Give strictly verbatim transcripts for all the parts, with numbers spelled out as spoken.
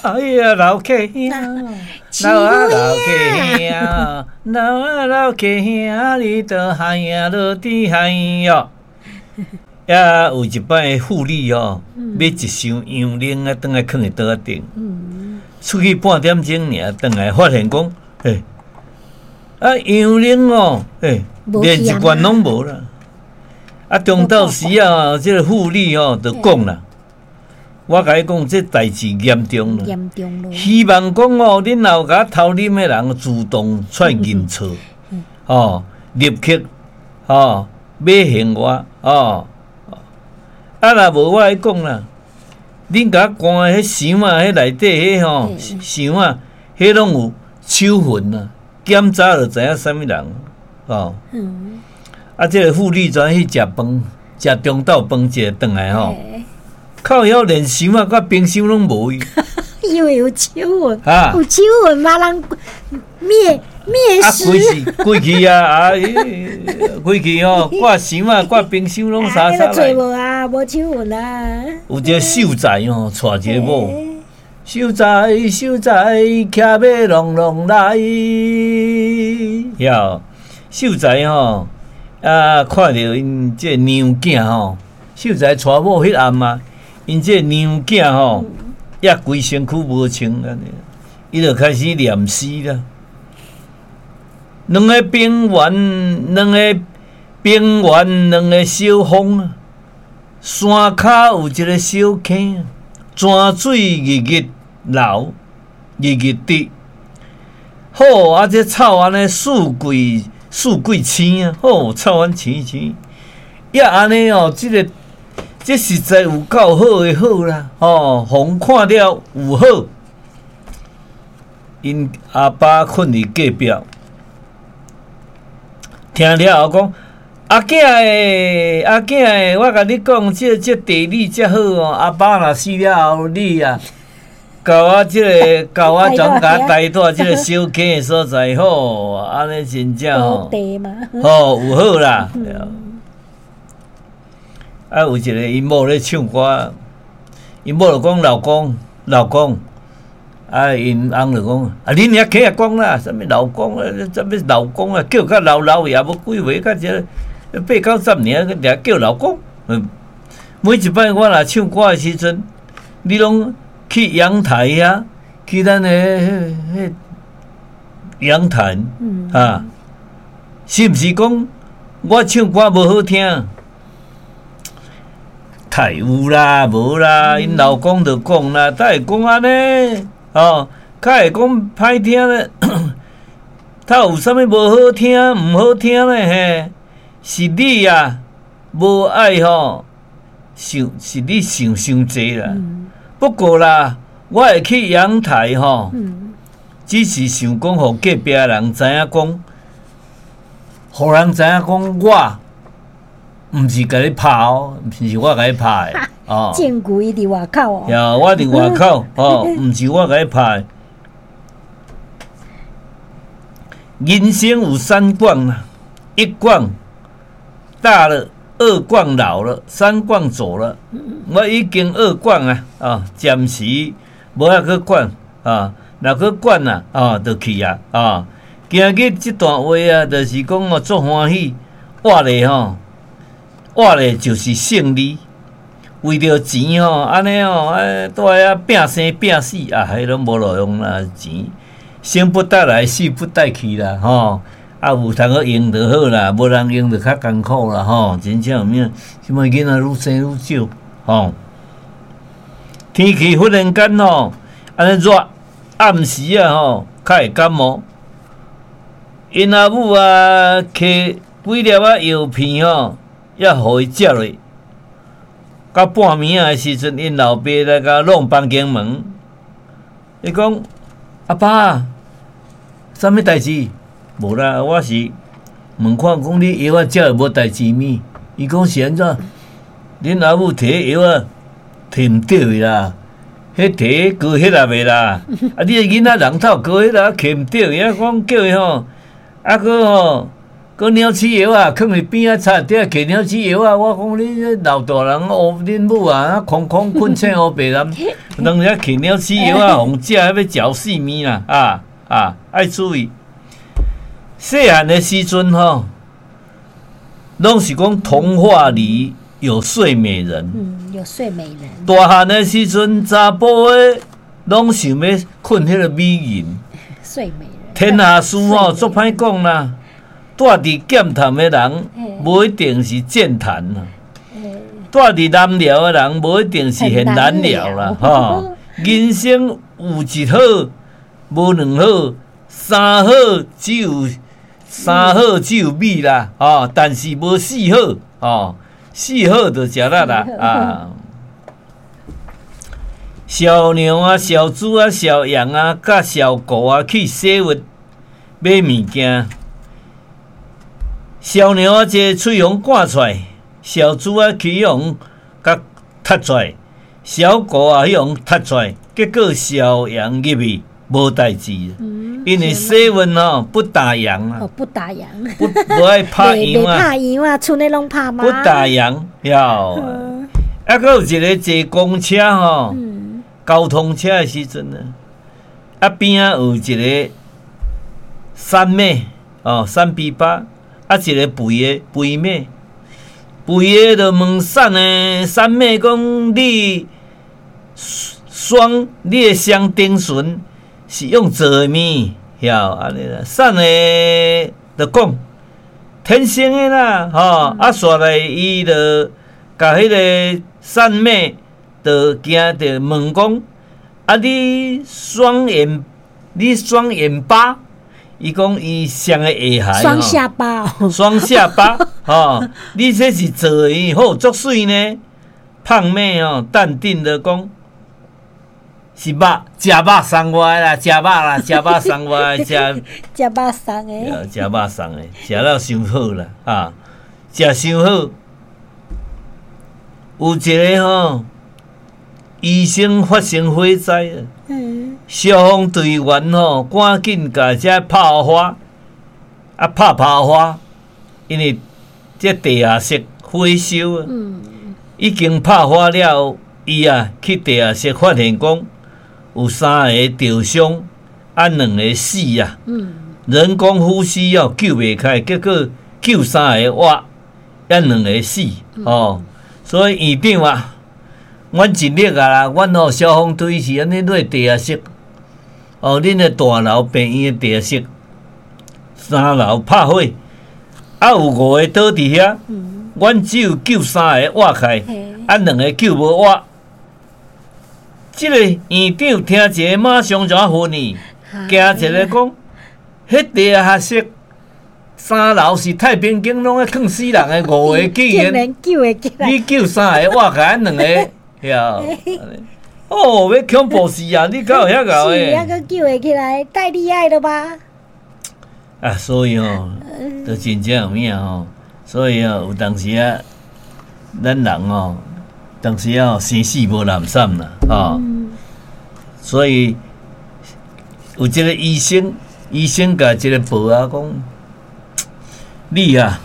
哎呀，老客兄，老啊老客兄，老啊老客兄，你都海呀落地海哟。呀，有一擺婦女哦，買一箱羊奶啊，轉來囥佇桌仔頂。出去半點鐘爾，轉來發現講，欸，啊羊奶哦，欸，連一罐攏無啦。啊，中晝時啊，這个婦女哦，就講啦，我共你講，這代誌嚴重啦。嚴重咯。希望講哦，恁若有共我偷啉的人，自動出來認錯，哦，立刻哦，買還我哦。啊，若無我來講啦，恁共我關的彼箱仔，彼內底彼吼箱仔，彼攏有手痕啊，檢查就知影啥物人哦。啊，這个婦女轉去食飯，食中晝飯，食轉來吼，靠腰連箱仔佮冰箱攏無去。因為有手痕，有手痕嘛，人滅滅屍。啊，規是規氣啊！啊，規氣吼，掛箱仔、掛冰箱攏啥啥來。無啊，無手痕啊。有一个秀才吼，娶一个某，秀才秀才，騎馬隆隆來。曉秀才吼，啊，看著𪜶這娘囝吼，秀才娶某彼暗啊，𪜶這娘囝吼，也規身軀無穿按呢，伊就開始念詩啦。兩个平原，兩个平原，兩个小峰啊，山跤有一个小坑，泉水日日流，日日滴。好啊，這草按呢四季四季青啊，好草按青青。也按呢哦，這个這實在有夠好的好啦，吼，予人看了有好。𪜶阿爸睏佇隔壁，聽了後講：阿囝欸，阿囝欸，我共你講，這這地理遮好哦。阿爸若死了後，你啊，共我這个，共我轉共帶蹛這个小坑的所在，好，按呢真正吼，吼有好啦。啊，有一个𪜶某咧唱歌，𪜶某就講老公，老公，啊，𪜶翁就講，啊，恁遐起來講啦，啥物老公啊，啥物老公啊，叫甲老老也無幾歲，較這八九十年，閣定叫老公。嗯，每一擺我若唱歌的時陣，你攏去陽台遐，去咱的彼彼陽台啊，是毋是講我唱歌無好聽？太有啦，無啦，𪜶老公就講啦，才會講按呢，哦，較會講歹聽咧。他有啥物無好聽、毋好聽咧？嘿，是你啊，無愛吼，想是你想傷濟啦。不過啦，我會去陽台吼，只是想講，予隔壁人知影講，予人知影講我。毋是共你拍哦，毋是我共你拍的哦。證據伊佇外口哦。呀，我佇外口哦，毋是我共你拍。人生有三逛啊，一逛大了，二逛老了，三逛走了。我已經二逛啊，啊，暫時無愛閣管啊，若閣管啊，啊，就去啊，啊。今日這段話啊，就是講我足歡喜，活咧吼。活咧就是勝利，為著錢吼，按呢吼，啊，蹛遐拚生拚死啊，彼攏無路用啦，錢生不帶來，死不帶去啦，吼！啊，有通好用就好啦，無人用就較艱苦啦，吼！真正有影，這擺囡仔愈生愈少，吼！天氣忽然間吼，按呢熱，暗時啊吼，較會感冒。𪜶阿母啊，摕幾粒仔藥片吼。也予伊食落，到半暝仔的時陣，𪜶老爸來共弄房間門，伊講：阿爸，啥物代誌？無啦，我是問看講你藥仔食了無代誌物？伊講是按怎？恁阿母提藥仔提毋著的啦，彼提高血壓的啦。啊，你的囡仔人頭高血壓提毋著，啊，講叫伊吼，啊閣吼。閣鳥鼠藥啊，囥佇邊仔擦底摕鳥鼠藥啊！我講你這老大人烏恁母啊，空空睏醒烏白男，當時摕鳥鼠藥啊，予食欲食性命啦！啊啊，愛注意。細漢的時陣吼，攏是講童話裡有睡美人。嗯，有睡美人。大漢的時陣，查埔的攏想欲睏彼个美人。睡美人。天下事吼，足歹講啦。住佇劍潭的人，無一定是劍潭啦；住佇南寮的人，無一定是現南寮啦。吼，人生有一好，無兩好，三好只有三好只有美啦。吼，但是無四好，吼，四好就食力啦。啊，小牛啊，小豬啊，小羊啊，佮小狗啊，去洗物買物件。小牛啊，一个喙予趕出來，小豬啊，去予共踢出來，小狗啊，予踢出來，結果小羊入去無代誌，因為洗溫吼不打烊啊，不打烊，不無愛拍烊啊，拍烊啊，賰內攏拍嘛，不打烊，曉。啊，閣有一个坐公車吼，交通車的時陣啊，啊邊仔有一个瘦馬哦，瘦埤巴。啊，一个肥的肥馬，肥的就問瘦的瘦馬講：你雙你的雙頂唇是用做的物？曉按呢啦。瘦的就講天生的啦，吼！啊，煞來伊就共彼个瘦馬就驚著問講：啊，你雙眼你雙眼巴？伊講伊雙个下頦，雙下巴，雙下巴，吼！你這是做的好足媠呢。胖馬吼，淡定的講，是肉，食肉送我的啦，食肉啦，食肉送我的，食食肉送的，食肉送的，食了傷好啦，啊，食傷好。有一个吼，醫生發生火災，消防隊員吼，趕緊共這拍火，啊拍拍火，因為這地下室火燒啊，已經拍火了後，伊啊去地下室發現講有三个著傷，啊兩个死啊，人工呼吸哦救袂起來，結果救三个活，啊兩个死哦，所以院長啊。阮盡力啊啦，阮吼消防隊是按呢落地下室，哦，恁的大樓病院的地下室，三樓拍火，啊有五个倒佇遐，阮只有救三个活起來，啊兩个救無活。這个院長聽一下，馬上就昏去，驚一个講，彼地下室三樓是太平間，攏咧囥死人的，五个竟然救會起來，你救三个活起來，兩个。曉，哦，欲恐怖死啊！你敢有遐𠢕的？是啊，閣救會起來，太厲害了吧？啊，所以吼，就真正有影吼，所以哦，有當時啊，咱人吼，當時啊，生死無攬捫啦，吼。所以有一个醫生，醫生共一个婆仔講：你啊，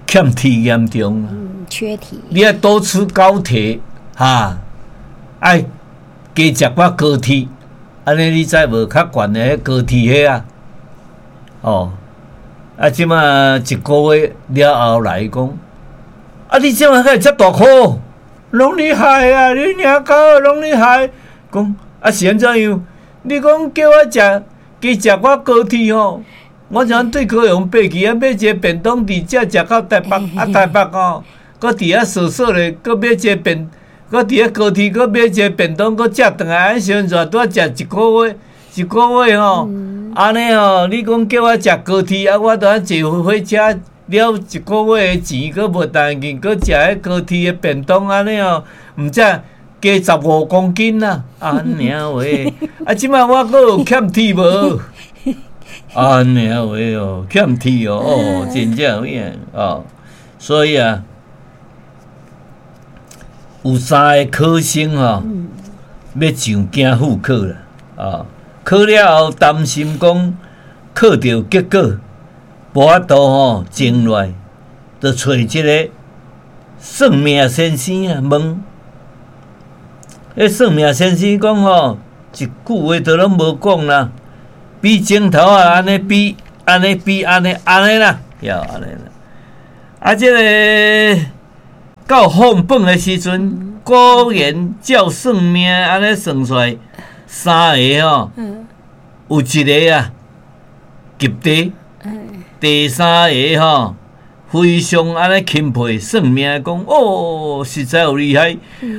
欠鐵嚴重啊！缺鐵，你愛多吃高鐵，哈，愛加食寡高鐵，按呢你知無？較懸的彼高鐵彼啊，哦，啊，這馬一个月了後來講，啊，你這馬敢會遮大箍？攏你害啊！你娘搞攏你害！講啊是按怎樣？你講叫我食加食寡高鐵吼？我怎對高雄爬去啊，買一个便當佇遮食到台北，啊台北吼。閣佇遐踅踅咧，閣買一个便，閣佇遐高鐵，閣買一个便當，閣食轉來，按時陣拄仔食一个月，一个月吼，按呢吼，你講叫我食高鐵啊，我著愛坐火車了一个月的錢，閣無當去，閣食彼高鐵的便當，按呢吼，毋才加十五公斤啊！按呢話，啊，這擺我閣有欠鐵無？按呢話哦，欠鐵哦，哦，真正有影哦，所以啊。有三个考生吼，欲上京赴考啦，啊，考了後擔心講考著結果，無法度吼，靜落來，就揣一个算命先生啊問。彼算命先生講吼，一句話都攏無講啦，比指頭仔按呢比，按呢比，按呢按呢啦，著按呢啦。啊，這个到放飯的時陣，果然照算命按呢算出來，三个吼，有一个啊及第，第三个吼非常按呢欽佩算命，講哦，實在有厲害。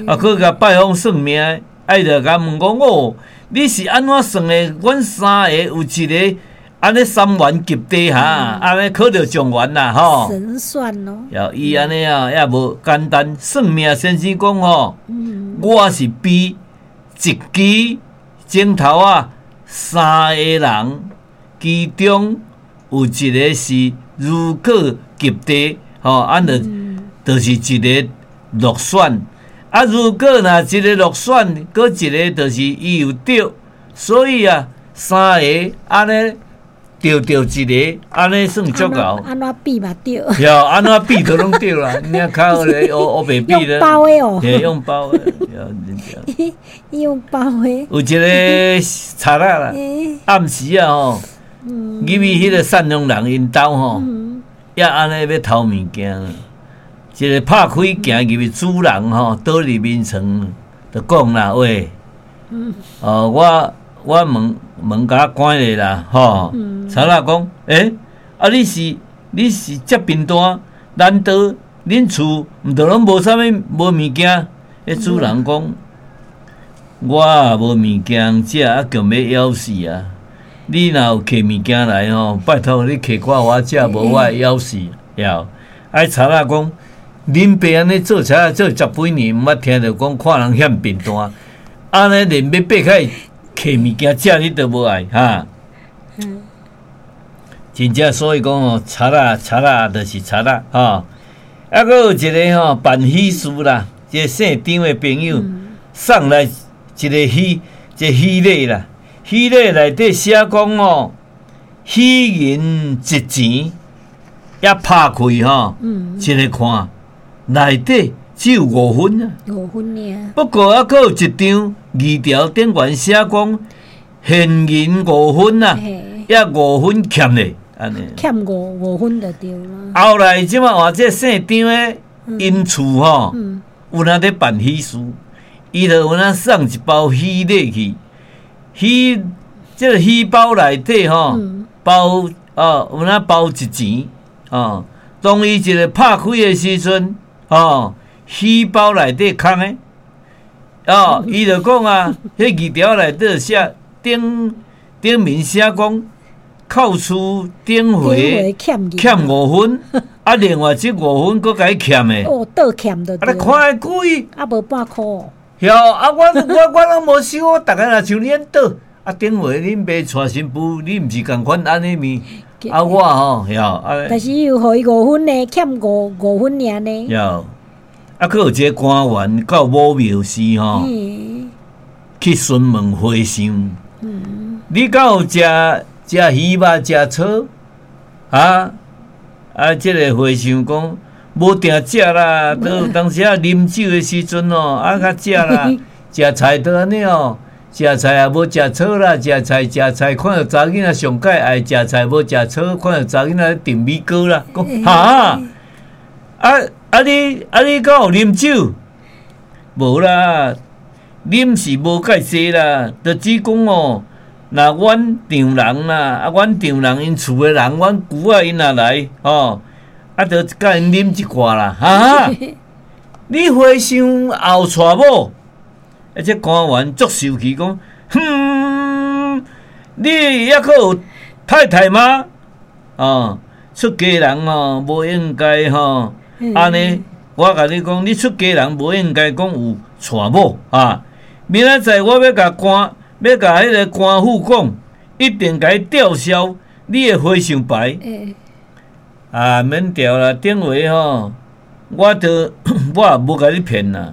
啊，閣共拜訪算命，愛著共問講哦，你是按怎算的？阮三个有一个按呢三元及第哈，按呢考著狀元啦吼。神算哦。著伊按呢啊，也無簡單。算命先生講吼，我是比一支指頭仔，三個人，其中有一個是如果及第，吼，按著就是一個落選。啊，如果若一個落選，閣一個就是伊有著，所以啊，三個按呢著著一個，按呢算足𠢕。按怎比嘛對。著，按怎比都攏對啦，你較好咧，烏烏白比咧。用包的哦。嘿，用包的，對。用包的。有一个賊仔啦，暗時啊吼，入去彼个訕陽人𪜶兜吼，也按呢欲偷物件，一个拍開行入去，主人吼倒佇眠床，就講啦，喂，哦，我我門門共我關咧啦，吼，賊仔講，欸，啊你是你是遮貧惰，難道恁厝毋著攏無啥物無物件？彼主人講，我也無物件食，啊，強欲枵死啊！你若有提物件來吼，拜託你提寡予我食，無我會枵死。著，啊，賊仔講，恁爸按呢做賊仔做十幾年，毋捌聽著講看人遐貧惰，按呢連欲爬起來提物件食，你都無愛哈。真正所以講吼，賊仔賊仔就是賊仔吼。啊，閣有一个吼辦喜事啦，一个姓張的朋友送來一个喜，一個喜禮啦。喜禮內底寫講吼，喜銀一錢也拍開吼，一个看內底只有五分啊。五分爾。不過啊，閣有一張字條頂懸寫講現銀五分啊，抑五分欠咧，按呢。欠五五分就對啦。後來這擺換這姓張的𪜶厝吼，有人咧辦喜事，伊就有影送一包喜禮去。喜這个喜包內底吼，包哦，有影包一錢哦。當伊一个拍開的時陣，哦，喜包內底空的，哦，伊就講啊，彼字條內底寫頂頂面寫講，扣除頂回欠五分，啊，另外這五分閣共伊欠的。哦，倒欠就對。啊，你看彼貴。啊，無半箍。著，啊，我我我攏無收，我逐家若像你按倒，啊，頂回恁爸娶新婦，你毋是仝款按呢物？啊，我吼，著，啊。但是伊有予伊五分呢，欠五五分爾呢。著，啊，閣有一個官員到武廟時吼，去詢問和尚，你敢有食食魚肉食草？啊啊！這个和尚講無定食啦，都有當時啊啉酒的時陣哦，啊較食啦，食菜都按呢哦，食菜也無食草啦，食菜食菜，看著查囡仔上蓋愛食菜無食草，看著查囡仔咧扽米糕啦，講哈啊啊你啊你敢有啉酒？無啦，啉是無介濟啦，就只講哦。若阮丈人啦，啊，阮丈人𪜶厝的人，阮姑仔𪜶若來，吼，啊，就共𪜶啉一寡啦，哈。你和尚後娶某？啊，這官員足受氣講，哼，你猶閣有太太嗎？哦，出家人吼，無應該吼，按呢，我共你講，你出家人無應該講有娶某啊。明仔載我欲共官。欲共彼个官府講，一定共伊吊銷你的和尚牌。欸、啊，免吊啦，頂回吼，我都我也無共你騙啦。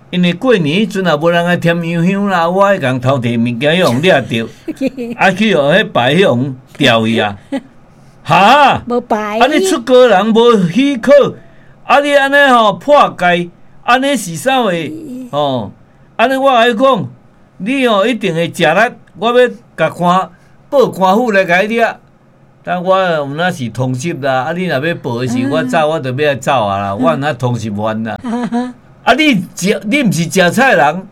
因為過年彼陣也無人愛添油香啦，我愛共偷提物件，予人掠著，啊去予彼牌予人吊去啊。哈？無牌。啊！你出家人無許可，啊！你按呢吼破戒，按呢是啥話？吼！按呢我共你講，你吼一定會食力，我欲共官報官府來共你掠。但我有哪是通緝啦？啊！你若欲報的時，我走我就欲來走啊啦！我若通緝犯啦。啊！你食你毋是食菜人，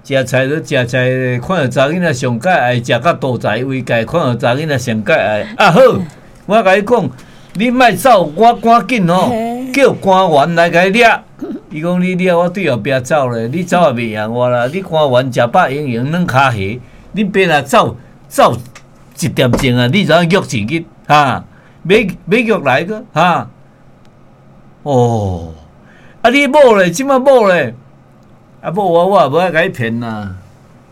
食菜就食菜，看著查某囡仔上蓋愛食甲肚臍為界，看著查某囡仔上蓋愛。啊好，我共你講，你莫走，我趕緊吼，叫官員來共你掠。伊講你掠我對後壁走咧，你走也袂贏我啦。你官員食飽閒閒軟跤鞋，你爸若走走一點鐘啊，你就怎約一日哈？欲欲約來個哈？哦，啊你某咧，這擺某咧，啊某我我也無愛共你騙啦。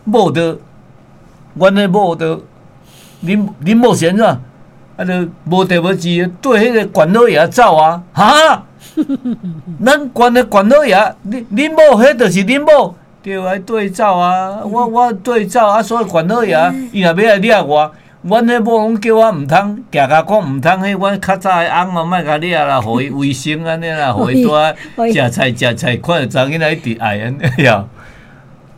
某著，阮的某著，恁恁某是按怎？啊，著無地無志，綴彼个縣老爺走啊！哈？咱縣的縣老爺，恁恁某彼就是恁某，對，愛綴走啊！我我綴走啊，所以縣老爺伊若欲來掠我，阮彼某攏叫我毋通，行共講毋通，彼阮較早的翁哦，莫共掠啦，予伊衛生按呢啦，予伊蹛食菜食菜，看著查某囡仔一直愛按呢呀。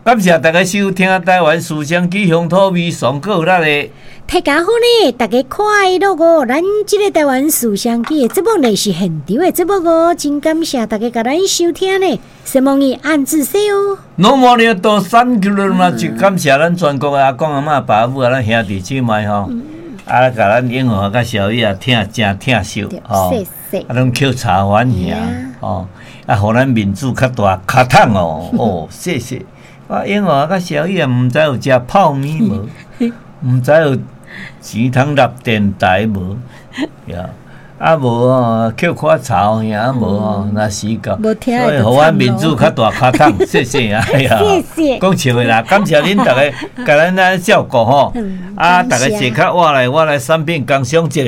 感謝大家收聽台灣思想記鄉土味上閣有咱的。大家好呢，大家快樂哦！咱這个台灣思想記的節目呢是現場的節目哦，真感謝大家共咱收聽呢。希望你按自說哦。攏無了多三九了嘛，就感謝咱全國的阿公阿嬤、爸母啊，咱兄弟姊妹吼，啊，共咱英華佮小雨啊，疼誠疼惜吼，啊，攏抾柴番爾吼，啊，予咱面子較大跤桶哦，哦，謝謝。我英華佮小雨啊，毋知有食泡麵無？毋知有錢通納電台無？呀，啊無哦，抾看吵爾無哦，若時到，所以予阮面子較大跤桶，謝謝啊！謝謝。講笑的啦，感謝恁逐家共咱來照顧吼，啊，逐家坐較倚來，我來產品工商一下。